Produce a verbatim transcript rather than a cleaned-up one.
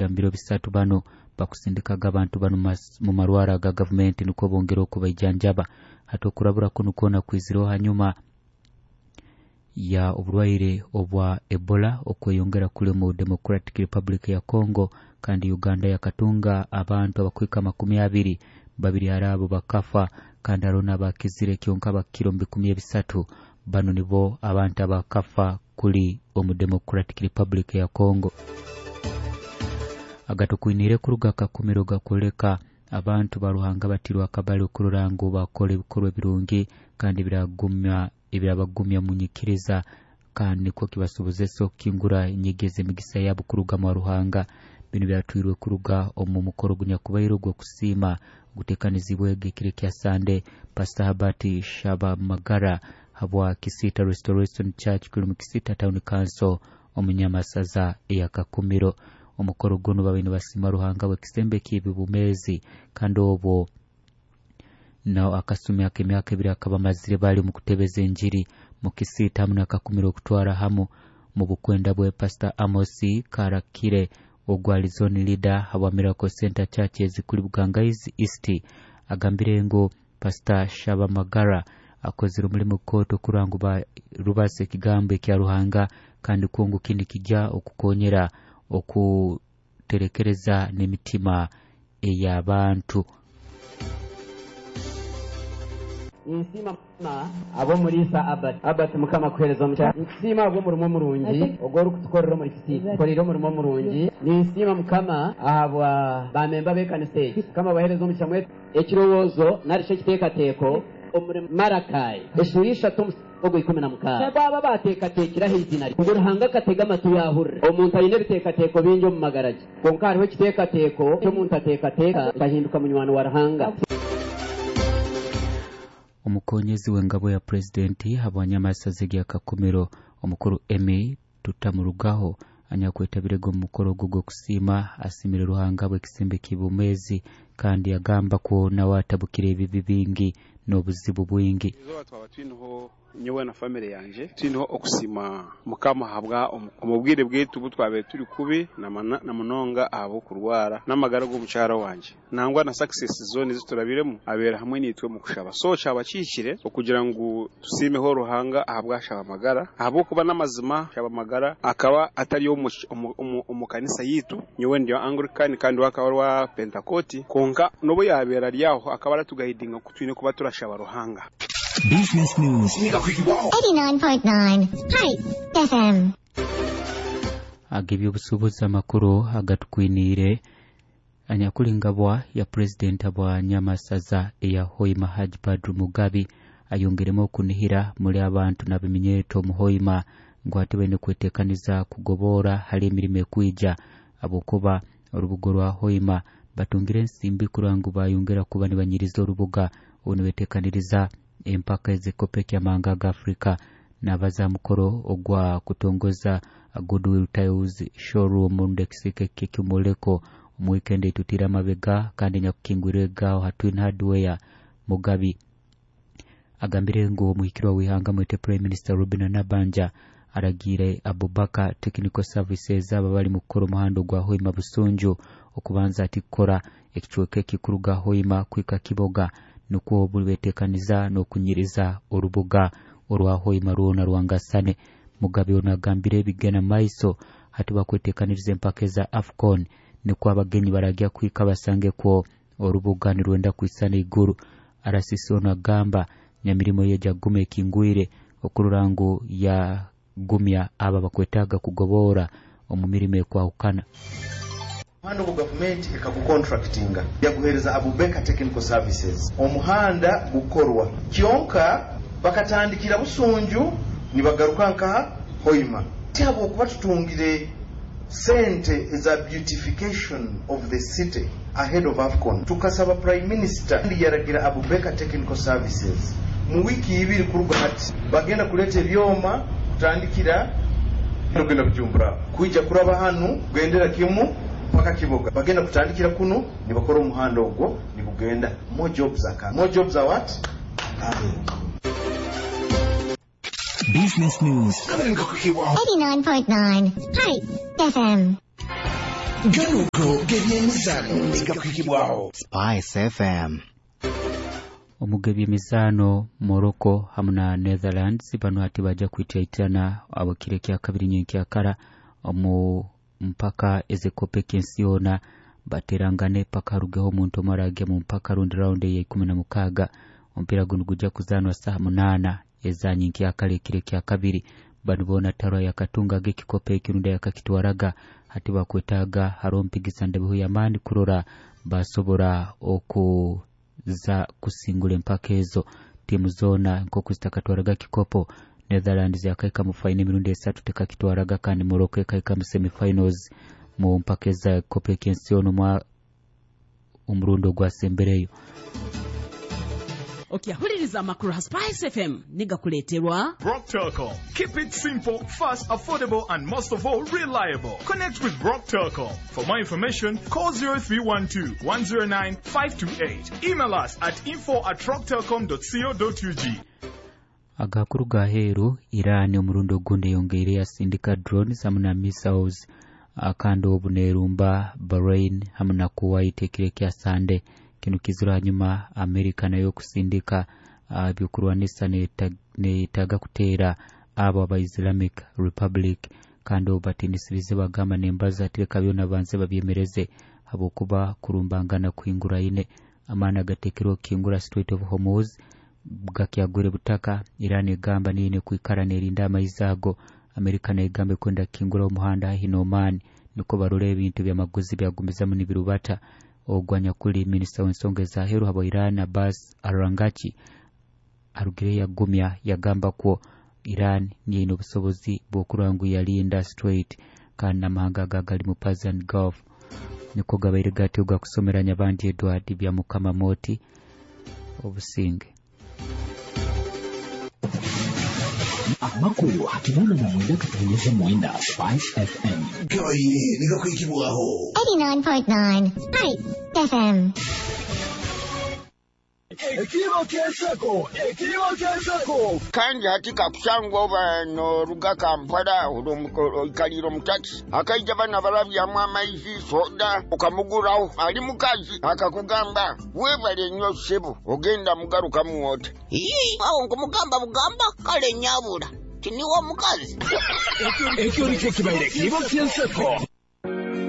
Mu biro bisatu bano bakusindikaga abantu bano mu marwara ga gavumenti nukwo bongera okubaijanjaba. Hati okurabura kunu kwona kwizireho hanyuma ya oburwaire obwa Ebola okweyongera kuli mu Democratic Republic ya Congo, kandi Uganda yakatunga abantu abakwika makumi abiri babiri arabo bakafa, kandi hariho n'abakizire kyonka bakiro mu bikumi ebisatu. Bano nibo abantu abakafa kuli omu Democratic Republic ya Congo. Agatukwinire kuruga kakumiro gakuleka abantu ba Ruhanga batirwa akabali okurora ngu bakora ebikorwa ebirungi kandi biragumya ebirabagumya munyikiriza, kandi nikwo kibasobozesa okukingura enyegeza emigisa yabo kuruga mu Ruhanga. Bino byatwirwe kuruga omu mukoro gunyakubaire ogw'okusiima gutekanizibwe ekiro kya Sande. Pastor Habert Shabamagara habwa Kisita Restoration Church kuli mu Kisita Town Council omunyamasaza eyakakumiro. Omukoro guno babaire nibasiima Ruhanga bw'ekisembe ky'ebibumezi, kandi obwo nao akasumi ak'emyaka ebiri akaba amazire bali mu kutebeza enjiri mu Kisita hamu n'akakumiro okutwara hamu mu bukwenda bwe Pastor Amos Karakire ogwali zone leader habwa Miracle Center Church ezikuli Bugangaizi East agambire ngu Pastor Shabamagara akozire omulimu kooto kurora ngu rubasa ekigambo ekya Ruhanga, kandi kungu kindi kijja okukonyera okuterekereza n'emitima ey'abantu. Nsiima ab'omuriisa Abat Abat Mukama kuhereza omukyara. Nsiima ab'omurimo omurungi ogw'orikutukorera omuri Kisii, tukorire omurimo omurungi. Ninsiima Mukama ahabwa bamemba b'ekanisa egi. Mukama abahereza omugisha mwe. Ekirowoozo nari ekiteekateeko omuri Marakayi eshuura ishatu ogwo ikumi na mukaaga baba bateekateekiraho izina rye ngu Ruhanga akatega amatu yahurira. Omuntu aine ebiteekateeko bingi omu magara ge, kwonka hariho ekiteekateeko ky'omuntu ateekateeka akahinduka munywani wa Ruhanga. Omukonyezi w'engabo ya purezidenti habwanyamasaza gya Kakumiro omukuru Emmy Tutamurugaho anyakwetabirego omu mukoro ogwo gw'okusiima asimire Ruhanga bw'ekisembe ky'ibumezi, kandi agamba ko nawe atabukire ebibi bingi n'obuzibu bwingi. Izooba twaba twiniho nyowe na family yanje twiniho okusima Mukama habwa omu bwire bwaitu obu twabaire turi kubi na munonga ahabw'okurwara n'amagara g'omukyara wanje nangwa na success zone eziturabiremu abeera hamwe naitwe mu kushaba. So kyaba kihikire okugira ngu tusiimeho Ruhanga ahabwa Shabamagara, ahabw'okuba n'amazima Shabamagara akaba atari omu kanisa yitu. Nyowe ndi Anglican kandi we akaba ari owa Pentakoti, kwonka n'obu yabeera ari aho akaba aratugayidinga ku twine kuba turashaba Ruhanga. Business News eighty-nine point nine Hi F M. Ag'ebyobusuubuzi amakuru agatukwiniire anyakulingabwa ya purezidenti bwa Nyamasaza eya Hoima Haji Badru Mugabi ayongeremu okunihira muri abantu n'abiminyeeto omu Hoima ngu hati baine kweteekaniza kugoboora hali emirimo ekwija, ahabwokuba orubuga rwa Hoima batungire ensimbi kurora ngu bayongera kuba nibanyiriza orubuga obu nibeteekaniriza empaka ez'ekikopo ky'amahanga ga Afrika. Nabaza mukoro ogwa kutongoza Goodwill Tiles showroom ndekisike kekimuleko omu weekend etutira amabega kandi nyakukingwire gaho ha Twin Hardware. Mugabi agambire ngu omuhikirwa w'ihanga mwete Prime Minister Robinah Nabbanja aragiire Abubakar Technical Services aba bali mu kukora omuhanda gwa Hoima Busunju okubanza ati kukora ekicweka ekikuruga Hoima kwika Kiboga, nukwo buli beteekaniza n'okunyiriza orubuga orwa Hoima rwona rwangasane. Mugabe ono agambire ebigena maiso hati bakweteekaniriza empaka eza AFCON, nikwo abagenyi baragya kwika basange kwo orubuga nirwenda kwisana iguru. Arasisi ono agamba nyamirimo ye jaguma ekingwire okurora ngu yagumya aba bakwetaaga kugoboora omu mirimo ekwahukana. Omuhanda ogwo gavumenti ekagukontractinga yaguhereza Abubeka Technical Services. Omuhanda gukorwa kyonka bakatandikira Busunju nibagaruka nkaha Hoima. Ti habwokuba tutungire sente eza beautification of the city ahead of AFCON, tukasaba Prime Minister yaragira Abubeka Technical Services mu wiki ibiri kuruga hati bagenda kuleta ebyoma kutandikira kugenda Bujumbura kwija kuraba hanu kugendera kimu paka Kiboga, bagenda kutandikira kuno nibakora omuhanda ogwo nibugenda. More jobs are coming. More jobs are what? Coming. Business News eighty-nine point nine Hi F M. Ganuko g'ebyemizano negakwikibwaho Spice F M. Omugebye mizano Morocco hamu na Netherlands bano hati baja kwityaitana abo kire kya kabiri nyenkyakara omu mpaka ez'ekope ky'ensi yoona baterangane paka harugeho omuntu omwe arage mu mpaka rundi round ya ikumi na mukaaga. Omupiira guno gujja kuzaanwa saaha munaana eza nyenkyakara ekiro kya kabiri. Bano boona tarwa yakatungaga ekikopo ekirundi yakakitwaraga hati bakwetaaga hariho mpigisa ndebeho y'amaani kurora basobora okuza kusingura empaka ezo. Tiimu zoona nk'oku zitakatwaraga kikopo, Netherlands yakaika mu faino emirundi esatu tekakitwaraga, kandi Morocco ekaika mu semifinals mu mpaka eza kopo eky'ensi yoona omwa omurundi ogwasembereyo. Okyahuliriza amakuru ha Spice F M nigakuleeterwa Brock Telcom. Keep it simple, fast, affordable and most of all reliable. Connect with Brock Telcom. For more information, call zero three one two, one zero nine, five two eight. Email us at info at rocktelcom dot co dot U G. Agakuru ga heeru, Iran omurundi ogundi eyongeire yasindika drones hamu na missiles kandi obu neerumba Bahrain hamu na Kuwait ekiro ekya Sande. Kino kizira hanyuma Amerika nayo okusindika ebyokurwanisa neetaaga kuteera abo aba Islamic Republic, kandi obu batiinisirize bagamba nembaza ati reka byona banze babyemereze habwokuba kurumbangana kuhinguraine. Amaani agateekerwe okukingura Strait of Hormuz gakyagwire butaka. Iran egamba niyo eine kwikara neerinda amaizi ago. Amerika nayo egamba ekwenda kukingura omuhanda haihi n'Oman niko barora ebintu by'amaguzi byagumizamu nibirubata. Ogwo anyakuli minisita w'ensonga ez'aheeru habwa Iran Abbas Araghchi arugire yagumya yagamba kwo Iran niyo eine obusobozi bw'okurora ngu yalinda Strait kandi n'amahanga aga gali mu Persian Gulf niko gabaire gatyo gakusomeranya abandi. Edward Byamukama Moti, obusinge. Amakuru hakinana na mwenda katonyeza mwenda Spice F M. Gabaire negakwikibwaho eighty-nine point nine Spice F M. Ekiro ky'enseko, ekiro ky'enseko. Kandi hati kakusangwa oba n'oruga Kampala oikalire omu takisi akaija bana barabyamu amaizi soda okamuguraho ali mukazi akakugamba weebale nnyo ssebo ogenda mugarukamu ota. Ii, awo nkumugamba bugamba kale nyabula tiniwo omukazi. Ekyo nikyo kibaire ekiro ky'enseko.